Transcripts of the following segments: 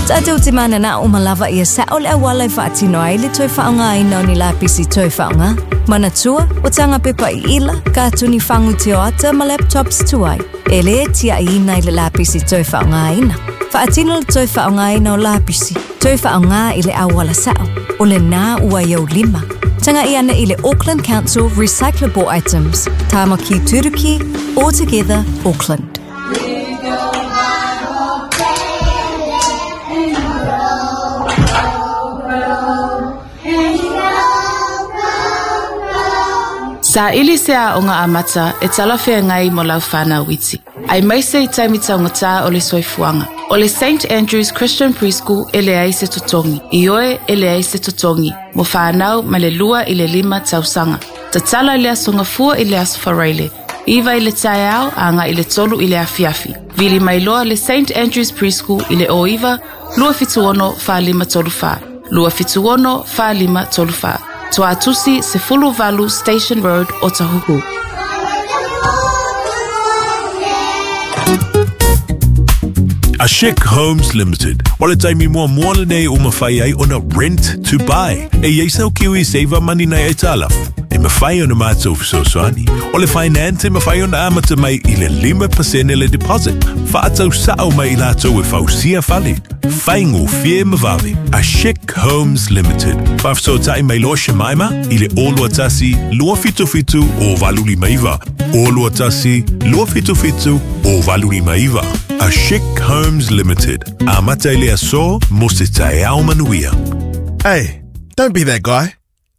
Tatou te mananao ma lava ia sa'o le auala e faatino ai le toe faaaogaina o ni lapisi toe faaaoga. Manatua, o taga pepa iila, katuni fagu tioata ma laptops tuai, e lē tia'iina i le lapisi toe faaaogaina. Faatino le toe faaaogaina o lapisi, toe faaaogā i le auala sa'o. O lenā ua i ou lima. Taga'i ane i le Auckland Council Recyclable Items, Tāmaki Turuki, All Together, Auckland. Saili se aoga amata e talafeagai mo lau whānau iti. Aemaise i taimi taugata o le soifuaga. O le St Andrews Christian Preschool e leai se totogi. Ioe e leai se totogi mo whānau mai le 2 i le 5 tausaga. Tatala i le Aso Gafua i le Aso Faraile, 9 i le taeao agai i le 3 i le afiafi. Vili mai loa le St Andrews Preschool i le 09 276 4534. 276 4534. Tuatusi 18 Station Road, Otahuhu. Ashik Homes Limited. O le taimi muamua lenei ua mafai ai ona rent to buy. E i ai sau Kiwi Saver Money nai aitalafu. E mafai ona matou fesoasoani. O le finance e mafai ona amata mai i le 5% le deposit. Faatau sa'o mai i latou e fausia fale. Faigofie ma vave. Ashik Homes Limited. Faafesootai mai loa Shemaima i le 021 277 0859. 021 277 0859. Ashik Homes Limited. Amata i le aso mo se taeao manuia. Hey, don't be that guy.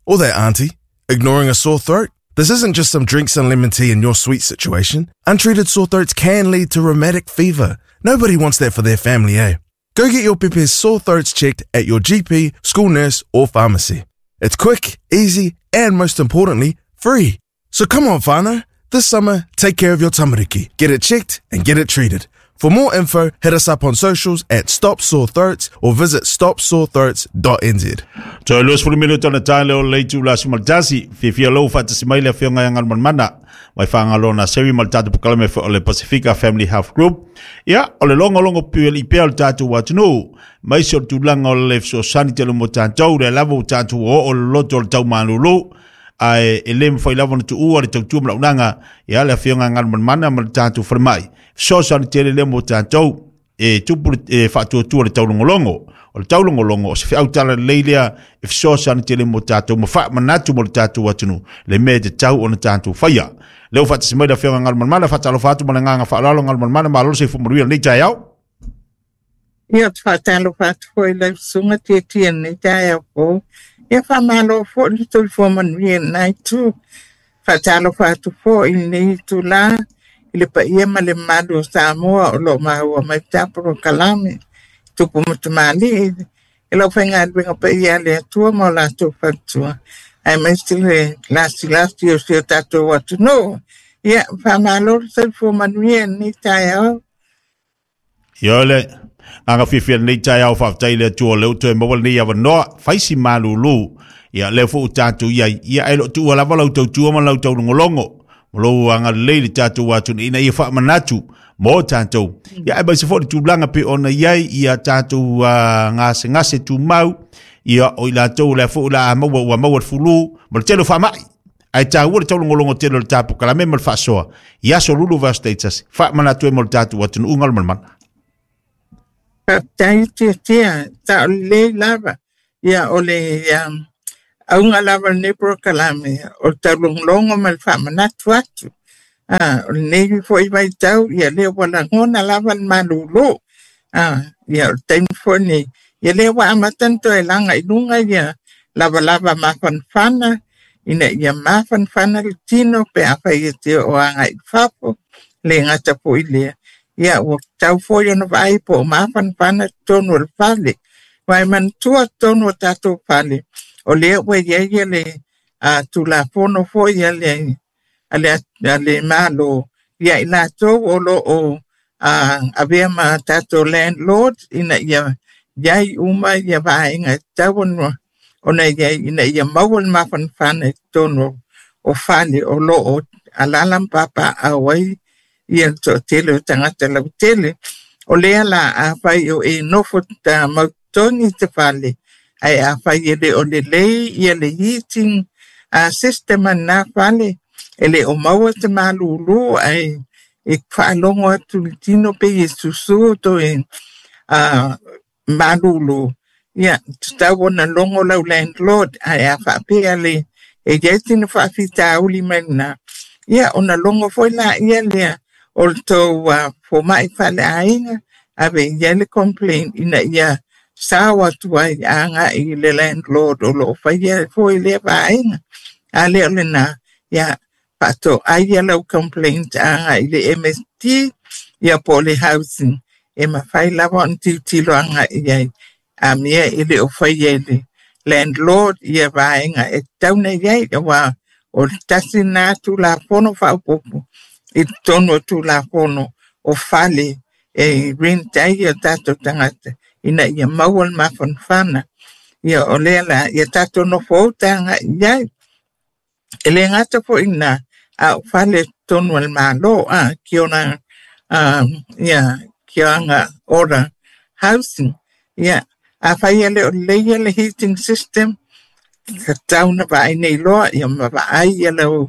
Or that auntie. Ignoring a sore throat. This isn't just some drinks and lemon tea in your sweet situation. Untreated sore throats can lead to rheumatic fever. Nobody wants that for their family, eh? Go get your pepe's sore throats checked at your GP, school nurse, or pharmacy. It's quick, easy, and most importantly, free. So come on, whānau. This summer, take care of your tamariki. Get it checked and get it treated. For more info, hit us up on socials at Stop Sore Throats or visit stopsorethroats.nz. Toe 20 minute ona tae lea o le itula aso ma le tasi. Fiafia lou faatasi mai le afioga ia Galumalemana mai Fagaloa Seri ma le tatou polokalame foi o le Pasifika Family Health Group. Ia, o le logologo piualii pea o le tatou atunuu, maise o le tulaga o le fesoasoani tele mo tatou, lea lava ua tatou oo le loto o le taumalulu, ae e le mafai lava ona tuua le tautua ma launaga ia le afioga ia Galumalemana ma le tatou falemai. Fesoasoani tele lea mo tatou e tupu e faatuatua le taulogologo. O le taulogologo o se feau talalelei lea e fesoasoani tele mo tatou ma faamanatu mo le tatou atunuu le mea e tatau ona tatou faia. Lea ua faatasi mai le afioga Galumalemana, faatalofa atu ma le agaga faaaloalo Galumalemana, malo le soifua manuia i lenei taeao. Ia, ou te faatalofa atu foi i lau susuga Tietie i lenei taeao fou. Ia, faamalo foi le soifua manuia i lena itu. Faatalofa atu foi i lenei itula i le paia ma le mamalu o Samoa o lo o maua mai pea polokalame, tupu ma tamalii i lau faigaluega paia a le Atua ma o latou faletua, aemaise le lasilasi o si o tatou atunuu. Ia, faamalo le soifua manuia i lenei taeao. Ia le agaga fiafia lenei taeao, faafetai i le Atua o lea ua toe maua lenei avanoa, fai si malulu. Ia lea foi ua tatou i ai, ia ae le o tuua lava lau tautua ma lau taulogologo ma lou agalelei i le tatou atunuu ina ia faamanatu mo tatou. Ia aemaise foi le tulaga pei ona i ai ia tatou gasegase tumau, ia o i latou o lea foi o le a maua ua maua le fulu ma le tele o faamai. Ae taua le taulogologo tele o le tapu kalame ma le faasoa i aso lulu vaiaso taitasi, faamanatu ai mo le tatou atunuu Galumalemana. Faafetai Tiatia, sao lelei lava. Ia, o le auga lava o lenei polokalame, o le taulogologo ma le faamanatu atu. O lenei foi vaitau, ia lea ua lagona lava le malulu. Ia, o le taimi foi lenei, ia lea ua amata ona toe laga i luga ia lavalava mafanafana, ina ia mafanafana le tino pe afai e te oo agai i fafo, le gata foi lea. Ia, ua tatau foi ona vaai po o mafanafana totonu o le fale. Aua e manatua totonu o tatou fale, o lea ua i ai le Tulafono foi a le Malo ia i latou o lo o avea ma tatou landlord ina ia i ai uma ia vaega e tatau ona i ai ina ia maua le mafanafana i totonu o fale o lo o alaala ma papaaao ai ia le toatele o tagata lautele. O lea la afai o e nofo mautotogi i se fale, ae afai e le o lelei ia le heating system a lena fale, e le o maua se malūlū ae e faalogo atu i le tino pei e susū toe malūlū, ia, tatau ona logo lau landlord, ae a faapea le e iai sina faafitauli mai lena, ia ona logo foi laia lea o le tou fomai faaleaiga, ave i ai le complaint ina ia sao atu ai agai i le landlord o lo o faia foi lea vaega. A le o lena, ia faatoai ia lau complaint agai i le MSD, ia po o le housing, e mafai lava ona tilotilo agai i ai. A mea e le o faia e le landlord ia vaega e tatau ona i ai, aua o le tasi lena Tulafono faaopoopo i totonu o Tulafono o fale e rent ai o tatou tagata ina ia maua le mafanafana. Ia o lea la, ia tatou nofo uta agai i ai. E le gata foi i lena, a o fale totonu o le Malo, ki ona ia ki ora housing. Ia, afai e le o lelei ia le heating system, tatau ona vaai nei loa, ia ma vaai ia lau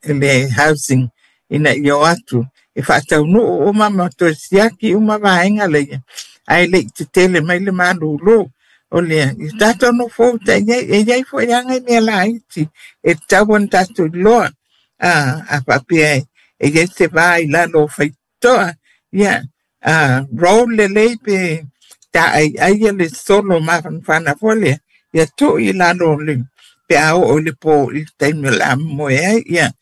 le housing ina ia o atu e faataunuu uma ma toe siaki uma vaega leia, ae le i tetele mai le malūlū. O lea, ia tatou nofo uta i ai, e i ai foi lava nai mea laiti e tatau ona tatou iloa. A faapea e i ai se va i lalo o faitotoa, ia, roll lelei pe taaiai ia le solo mafanafana foi lea, ia tuu i lalo o le, pe a oo i le po i le taimi o le a momoe ai, ia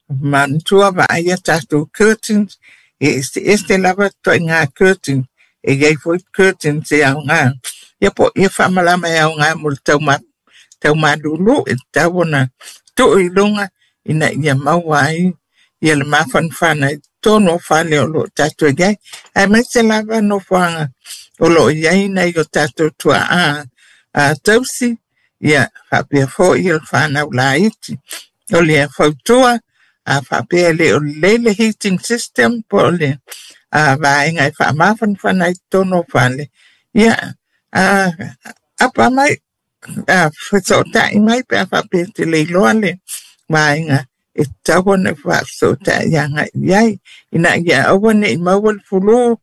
manatua vaai a tatou curtains, e eseese lava ituaiga curtains, e i ai foi curtains e aoga. Ia po ia faamalama e aoga mo le taumalūlū, e tatau ona tuu i luga ina ia maua ai ia le mafanafana i totonu o fale o lo o tatou i ai. Aemaise lava nofoaga o lo o i ai nai o tatou tuaa tausi, ia faapea foi le whanau laiti. O le fautua, a faapea le o lelei le heating system po o le vaega e faamafanafana i totonu o fale, ia apa mai, fesootai mai pe a faapea te le iloa le vaega e tatau ona faafesootai agai i ai, ina ia aua ne i maua le fulu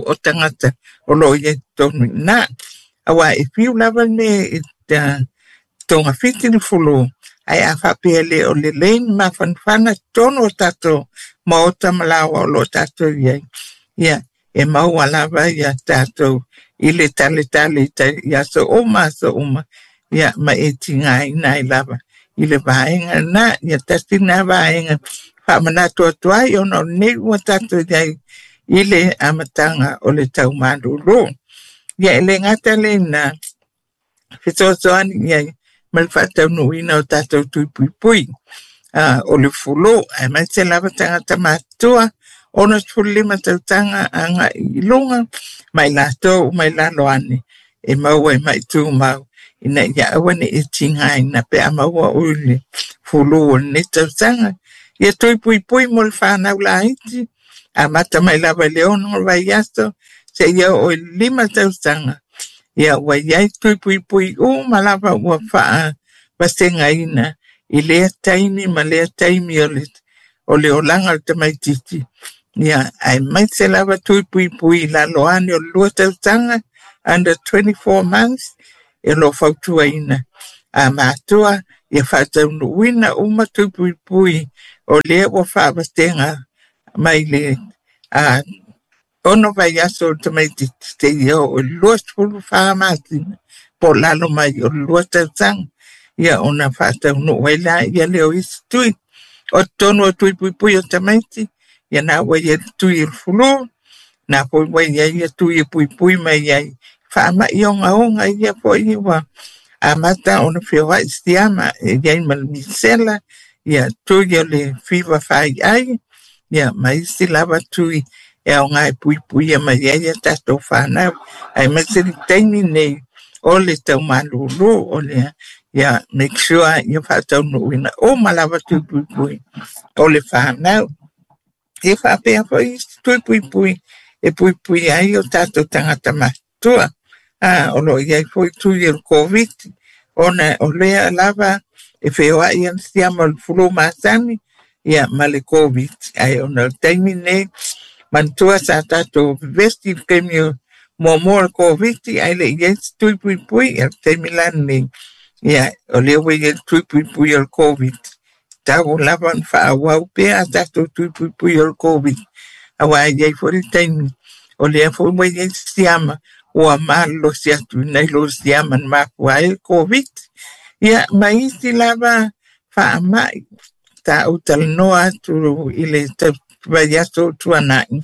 o tagata o lo o i ai totonu i ina. Aua e fiu lava le mea e togafiti le fulu, ae a faapea le o lelei ni mafanafana totonu o tatou maota ma laoa o lo o tatou i ai, ia e maua lava ia tatou i le taletale i aso uma, ia ma e tigaina ai lava i le vaega lena. Ia tasi lena vaega faamanatu atu ai ona o lenei ua tatou i ai i le amataga o le taumalūlū. Ia e le gata lena, fesoasoani i ai ma le faataunuuina o tatou tui puipui o le fulu, aemaise lava tagata matutua 65 tausaga agai i luga, ma i latou uma i lalo ane e maua i mai tumau, ina ia aua ne i tigaina pe a maua oi le fulu o lenei tausaga. Ia tui puipui mo le whanau laiti, amata mai lava i le 6 vaiaso seia oo i le 5 tausaga. Ia ua i ai tui puipui uma lava ua faavasegaina i lea taimi ma lea taimi o le olaga o le tamaitiiti. Ia aemaise lava tui puipui i lalo ane o le 2 tausaga, under 24 months, e lo fautuaina a matua ia faataunuuina uma tui puipui o lea ua faavasega mai le 6 vaiaso o le tamaitiiti seia oo i le 24 masina po o lalo mai o le 2 tausaga. Ia ona faataunuu ai la ia lea o isi tui. O totonu o tui puipui o tamaiti, ia na ua i ai le tui o le fulu, na foi ua i ai ia tui e puipui mai ai faamai ogaoga ia foi ua amata ona feoai siama e i ai ma le misela, ia tui o le fiva faiai, ia ma isi lava tui e aoga e puipuia mai ai ia tatou whanau. Aemaise le taimi nei o le taumalūlū o lea, ia make sure ia faataunuuina uma lava tui puipui o le whanau. E faapea foi isi tui puipui e puipui ai o tatou tagata matutua. O lo o i ai foi tui o le Koviti, ona o lea lava e feoai ana siama o le fulu masani ia ma le Koviti. Ae ona o le taimi lenei, manatua sa tatou vevesi i le taimi o muamua o le Koviti, ae le i ai se tui puipui. Ia le taimi la lenei, ia o lea ua i ai le tui puipui o le Koviti. Tau lava ona faaauau pea a tatou tui puipui o le Koviti, auā e i ai foi le taimi o lea foi ua i ai siama ua malolosi atu nai lo siama na mafua ai le Koviti. Ia ma isi lava faamai sa ou talanoa atu i le vaiaso o tuanai,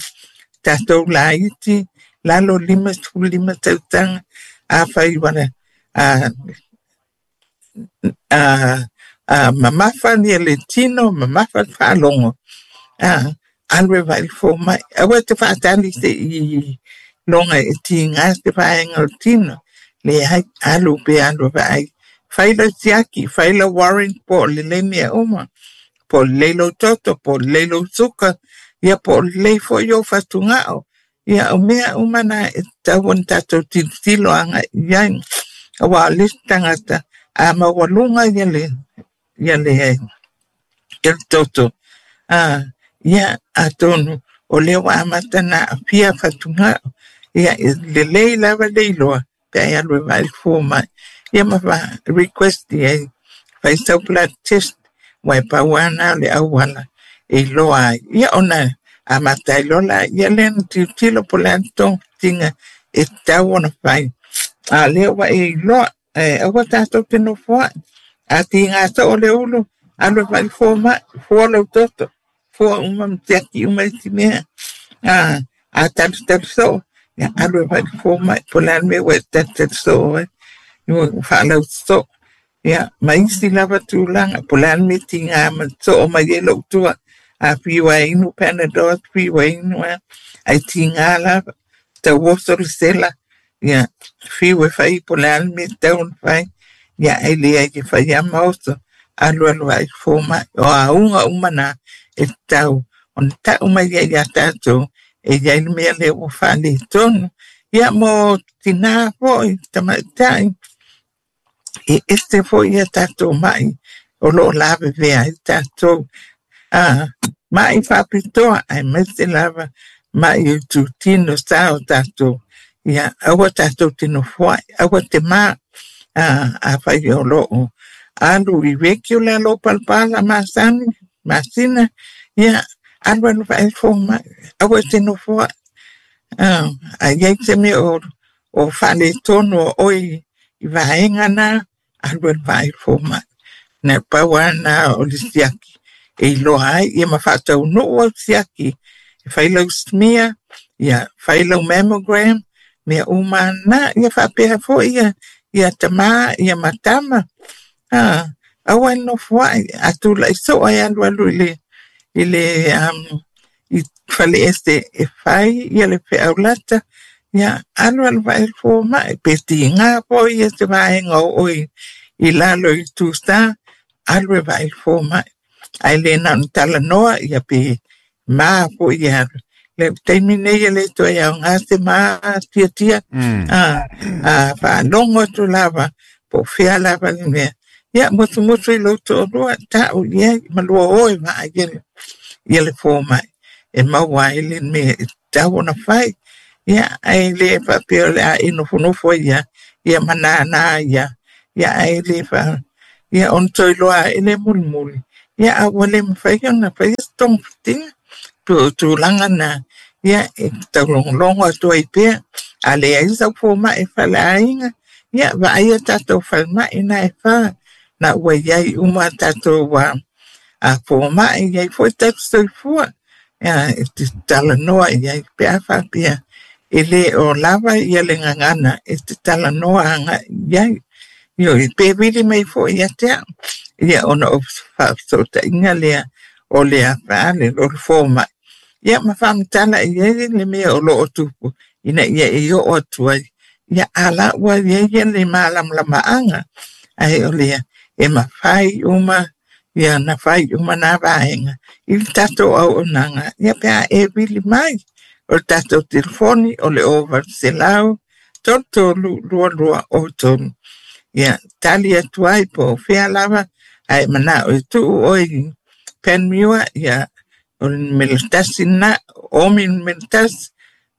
tatou laiti lalo 55 tausaga, afai ua mamafa ia le tino, mamafa le faalogo, alu e vaai i le fomai. Aua te faatali se i loga e tiga se vaega o le tino. Leai, alu pe alu e vaai. Fai lau siaki, fai lau warrant po o lelei mea uma. Po o lelei lou toto, po o lelei lou suka, ia po o lelei foi ou fatugao. Ia o mea uma na e tatau ona tatou tilotilo agai i ai. Auā o le isi tagata a maualuga ia le toto, ia atonu o lea ua amata na aafia fatugao. Ia e lelei lava le iloa pe a e alu e vaai le fomai. Ia ma request i ai fai sau blood test, ua e pau lava na o le auala e iloa ai. Ia ona amata ai loa laia lea na tilotilo po o le a le togafitiga e tatau ona fai. A o lea ua e iloa, aua tatou te nofoai. A tiga soo le ulu, alu e vaai le fomai, fua lou toto, fua uma ma siaki uma isi mea. A talutalu soo, ia alu e vaai le fomai, po o le a le mea ua e talutalu soo ai, ua faalauso. Ia, ma isi lava tulaga, po o le a le mea tiga ma soo mai ai lou tua. A fiu e inu Panadol, fiu e inu a, ai tiga lava, tauoso le sela, ia, fiu e fai po o le a le mea e tatau ona fai. Ia, ai leai e fai lava ma oso, alu alu ai fomai. O auga uma na e tatau ona tau mai ai ia tatou e i ai le mea lea ua faaletonu. Ia mo tinā foi, tamaitai, e ese foi ia tatou mai o lo o lavevea ai tatou. Mai faapitoa aemaise lava mai i itutino sa o tatou. Ia, aua tatou te nofoai, aua te ma. Afai o lo o alu i regular lou palapala masani, masina, ia, alu alu vaai le fomai, aua te nofoai. A i ai se mea o faaletonu o oe i vaega na, alu alu vaai le fomai. Na pau lava na o le siaki e iloa ai, ia ma faataunuu au siaki, e fai lau smear, ia fai lau mammogram, mea uma na, ia faapea foi ia, ia tamā, ia matama. Aua e nofoai, a tulai soo ai alu alu i le i faleese e fai ia le feaulata, ia alu alu vaai le fomai, pe tiga foi ia se vaega o oe i lalo i tūsā, alu e vaai le fomai. Ae le na ona talanoa, ia pe ma foi ia alu. Le taimi nei e le toe aoga se ma tiatia, faalogo atu lava, po o fea lava le mea. Ia, musumusu i lou toalua, tau i ai, ma lua o e vaai ia le fomai. E maua ai le mea e tatau ona fai. Ia, ae le faapea o le a e nofonofo ia, ia ma nānā ia, ia ae le fa, ia ona toe iloa ai le mulimuli. Ia, a ua le mafai ona faia se togafitiga. Pe o tulaga na, ia, e taulogologo atu ai pea. A leai sau fomai e faleaiga, ia, vaai a tatou falemai na e fa, na ua i ai uma tatou fomai, i ai foi tatou soifua. Ia, e te talanoa i ai pe a faapea e le o lava ia le gagana e te talanoa agai i ai. Ioe, pe vili mai foi ia te au. Ia ona o faafesootaiga lea o le afaale o le fomai. Ia ma faamatala i ai le mea o lo o tupu ina ia e oo atu ai. Ia a la ua i ai ia le malamalamaaga, ae o lea e mafai uma Ia na fai uma nā vaega i le tatou auaunaga ia pe a e vili mai. O le tatou telefoni o le 0800 33 22 03. Ia tali atu ai po o fea lava ae manao e tuu oe i Panmure, ia o le numera 1 lena, o Ōmi numera 1,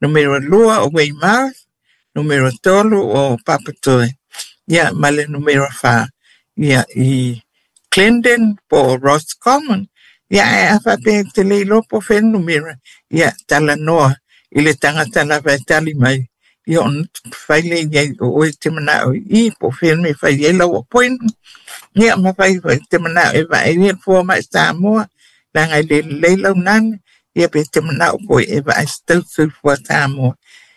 numera 2 o Weymouth, numera 3 o Papatoetoe, ia ma le numera 4 ia i Clendon po o Roscommon. Ia ae a faapea e te le iloa po o fea le numera, ia talanoa i le tagata lava e tali mai, ia ona fai lea i ai o oe te manao i i po o fea le mea e fai ai lau appointment. Ia ma fai foi te manao e vaai ia le fomai Samoa, leaga e le lelei lau nane, ia pe te manao foi e vaai se tausi soifua Samoa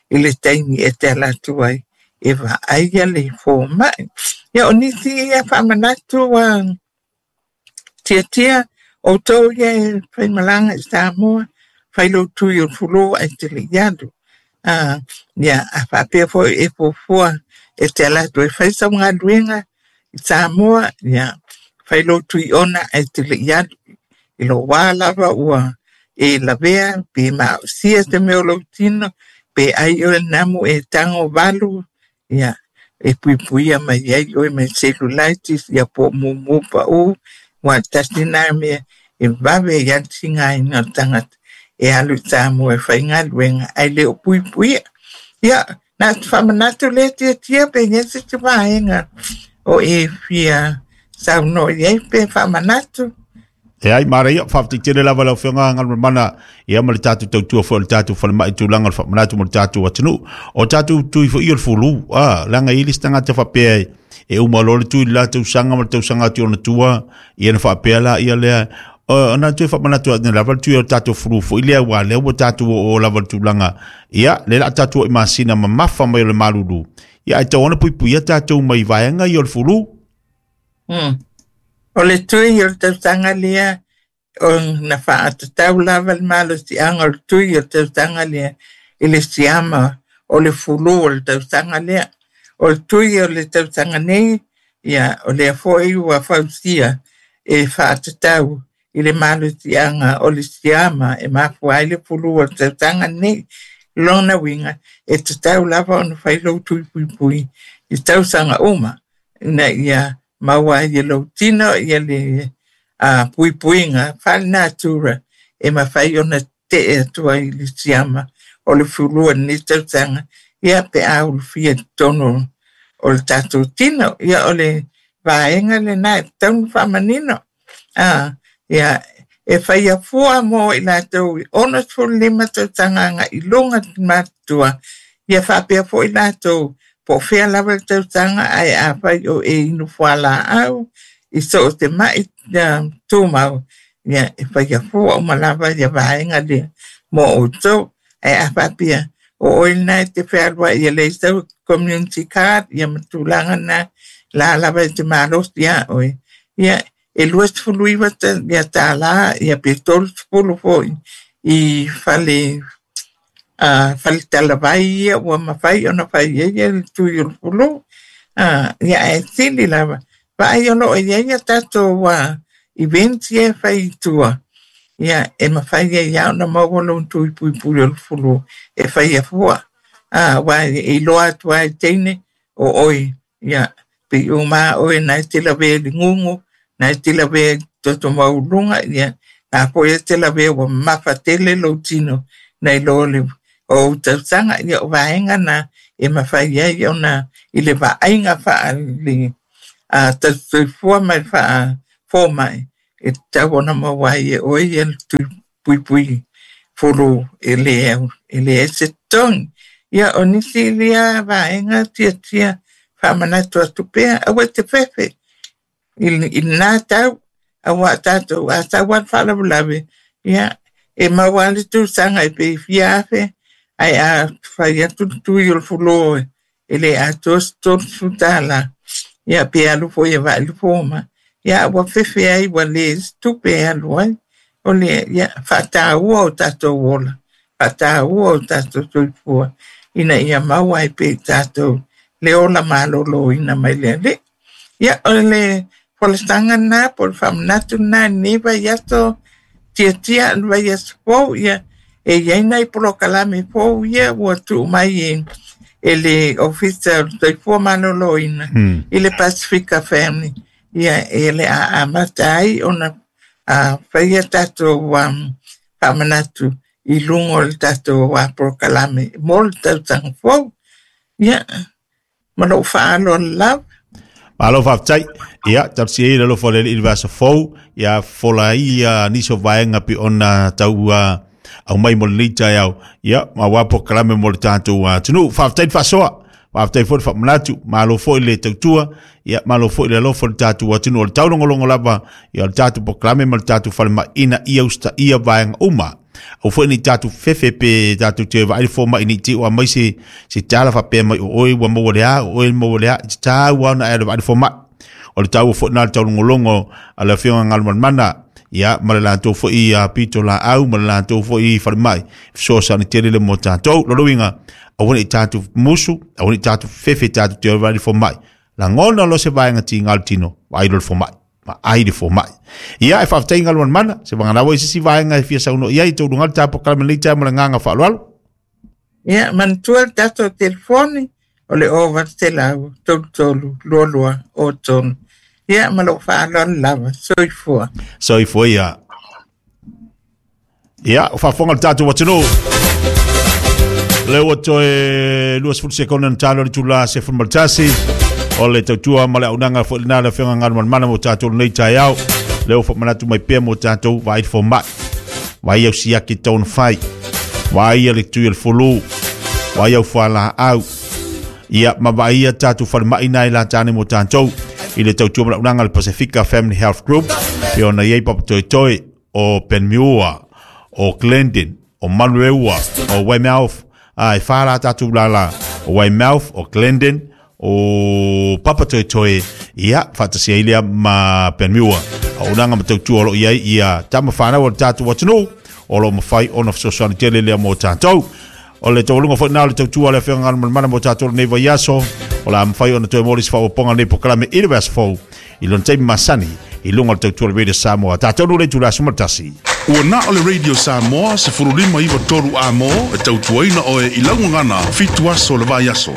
i le taimi e te ala atu ai e vaai ia le fomai. Ia o nisi ia faamanatu tiatia outou ia e faimalaga i Samoa, fai lou tui o le fulu ae te le i alu. Ia a faapea foi e fuafua e te ala atu e fai sau galuega i Samoa, ia fai lou tui ona ae te le i alu. I lou wā lava ua e lavea pe maosia te mea o lou tino, pe ai oe namu e tango valu, ia e puipuia mai ai oe mai cellulitis, ia po mumu pa u, wa tasi nā mea e vave i ale tigaina o le tagata e alu i Samoa e faigaluega ae le o puipuia. Ia, na te faamanatu lea tiatia pe i ai se isi vaega o e fia saunoa i ai pe faamanatu. E ai maraia, whaafetai tele lava lau afioga Galumalemana, ia ma le tatou tautua foi o le tatou falemai tulaga o le faamanatu mo le tatou atunuu. O tatou tui foi o le fulu, a, leaga e i ai le isi tagata faapea e uma loa le tui i le la tausaga ma le tausaga atu i ona tua, ia ona faapea la ia lea, ona toe faamanatu atu lava le tui o le tatou fulu foi lea, aua lea ua tatou oo lava i le tulaga, ia, lea o le a tatou oo i masina mamafa mai o le malulu, ia ae tatau ona puipuia tatou mai vaega ia o le fulu. O le tui o le tausaga lea, o na faatatau lava le malosiaga o le tui o le tausaga lea i le siama o le fulu o le tausaga lea. O le tui o le tausaga nei, ia o lea foi ua fausia e faatatau i le malosiaga o le siama e mafua ai le fulu o le tausaga nei. Lona uiga, e tatau lava ona fai lou tui puipui i tausaga uma, ina ia maua ai e lou tino ia le puipuiga faale-natura e mafai ona tetee atu ai i le siama o le fulu o lenei tausaga, ia pe a ulufia i totonu o le tatou tino. Ia o le vaega lena e tatau ona faamanino. Ia e faia fua mo i latou i 65 tausaga agai i luga te matutua, ia faapea foi latou po o fea lava le tausaga ae afai o e inu fualaau i so o se mai tumau, ia e faia fua uma lava ia vaega lea mo outou. Ae a faapea o oe lena e te fealuai e leai sau community card ia ma tulaga na la lava e te malosi ia oe, ia e 29 ia tālā ia pe 30 foi i fale fale talavai ia ua mafai ona fai ai ia le tui o le fulu. Ia ae sili lava vaai o loo i ai ia tatou events ia e fai i tua, ia e mafai ai lava ona maua lou tui puipui o le fulu e faia fua. Aua e iloa atu ai teine o oe, ia pe uma oe na e te lavea i le gugu, na e te lavea i toto maualuga, ia na foi e te lavea ua mamafa tele lou tino nai lo le o ou tausaga. Ia o vaega na e mafai ai ona i le vaaiga faale tausi soifua ma le faafomai e tatau ona maua ai e oe ia le tui puipui fulu e le ai se totogi. Ia o nisi lea vaega tiatia faamanatu atu pea, aua e te fefe i lena tau, aua tatou a sau lava le faalavelave, ia e maua lava le tausaga e pe fia afe, ae a fai atu le tui o le fulu e le atoa se $30, ia pe alu foi e vaai le fomai, ia ua fefe ai ua le se tupe e alu ai. O le ia faataua o tatou ola, faataua o tatou soifua, ina ia maua ai pea i tatou le ola maloloina mai le Alii. Ia o le Folasaga lena po o le faamanatu lena i lenei vaiaso tiatia le vaiaso fou ia e iai nai polokalame fou ia ua tuu mai e le Ofisa o le Soifua Maloloina i le Pasifika Family ia e le a amata ai ona faia tatou faamanatu i luga o le tatou polokalame mo le tausaga fou. Ia, ma lou faaaloalo lava. Malo faafetai. Ia, talosia ia le alofa o le Alii i le vaiaso fou, ia fofola ai ia nisi o vaega pei ona tau aumai mo lenei taeao, ia, ma aua polokalame mo le tatou atunuu. Faafetai le faasoa, faafetai foi le faamanatu, malo foi le tautua, ia, malo foi le alofa o le tatou atunuu. O le taulogologo lava, ia, o le tatou polokalame ma le tatou falemai ina ia usitaia vaega uma. Aua foi ne i tatou fefe pe tatou te vaai le fomai ne i te i ua aumai se, se tala faapea mai o oe ua maua le a, o oe maua le a. E tatau lava ona e alu e vaai le fomai. O le taua foi lena o le taulogologo a le Afioga Galumalemana, ia, ma le latou foi pitolaau ma le latou foi falemai, fesoasoani tele le mo tatou. Lona uiga, aua ne i tatou musu, aua ne i tatou fefe tatou te vaai le fomai. Lagona loa se vaega tiga o le tino, vaai loa le fomai. Vaai le fomai. Ia, e faafetai Galumalemana, se vagana ua i se isi vaega e fia saunoa i ai, taualuga le tatou polokalame i lenei taeao ma le agaga faaaloalo. Ia, manatua le tatou telefoni, o le 0800 33 22 03. Ia, ma lou faaaloalo lava. Soifua. Soifua ia. Ia, o faafofoga le tatou atunuu. Lea ua toe 20 sekone na talo le itula 11. O le tautua ma le auaunaga foi lena a le Afioga Galumalemana mo tatou lenei taeao. Lea ua faamanatu mai pea mo tatou vaai le fomai. Vaai au siaki e tatau ona fai. Vaai le tui o le fulu. Vaai au fualaau. Ia, ma vaai ia tatou falemai na e lata ane mo tatou i le tautua ma le auaunaga a le Pasifika Family Health Group. E ona i ai Papatoetoe o Panmure, o Glendon, o Manurewa, o Weymouth, a e whā rā tātou lālā, o Weymouth, o Glendon, o Papatoetoe, ia, whaatasi ai lea ma Panmure. A o nanga matautua o lo o i ai ia tama whanau o le tātou atunuu, o lo o mawhai ona fesoasoani tele lea mō tātou. O le taualuga foi lena o le tautua a le Afioga Galumalemana mo tātou lenei vaiaso, o le a mafai ona toe moli se faaopoopoga o lenei polokalame i le vaiaso fou, i lona taimi masani, i luga o le tautua o le Radio Samoa. Tātou nuu le itula 11. Ua na o le Radio Samoa 15 9 3 A mo e tautuaina oe i lau gagana fitu aso o le vaiaso.